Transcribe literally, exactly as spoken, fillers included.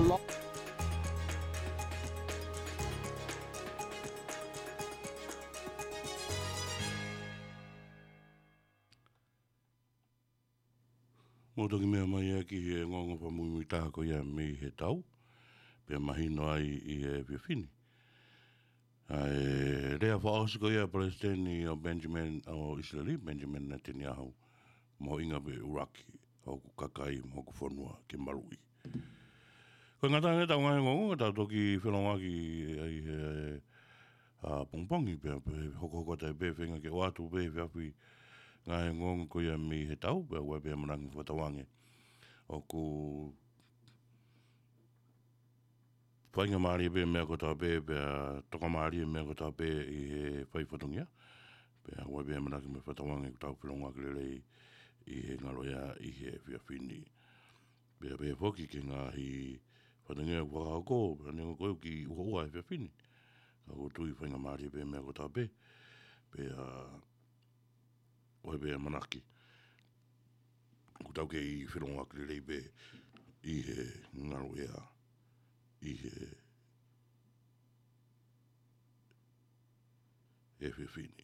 Mou toki meʻa mai ā ki he ongoongo fakamuimuitaha ko ia mei he tau, pea mahino ai ʻi he efiafi ni. ʻA e lea fakaʻosi ko ia ʻa e Palesiteni ʻo Benjamin, ʻo ʻIsileli, Benjamin Netanyahu, mahuʻinga pē ʻuluaki hoku kakai mo hoku fonua ke maluʻi. Ko e ngataʻanga ʻetau ngaahi ongoongo, tau toki felōngoaki ʻi he, ʻa, pongipongi pea, pea hokohoko atu pē feinga ke ʻoatu pē he efiafi ngaahi ongoongo ko ia mei he tau, pea ʻoku ʻi ai pē ʻamanaki mo fakatauange ʻoku faingamālie pē meʻa kotoa pē, pea tokamālie meʻa kotoa pē ʻi he fai fatongia. Pea ʻoku ʻi ai pē ʻamanaki mo fakatauange ʻoku tau felōngoaki lelei ʻi he ngalo ia ʻi he efiafi ni. Pea pehē foki ki he ngaahi fatongia ʻoku fakahoko, pea neongo ko e kiʻi ʻuhoʻuha he efiafi ni, ka ʻoku ou tui faingamālie pē meʻa kotoa pē. Pea ʻoku ʻi ai pē ʻamanaki ʻoku tau kei felōngoaki lelei pē ʻi he ngalo ia ʻi he efiafi ni.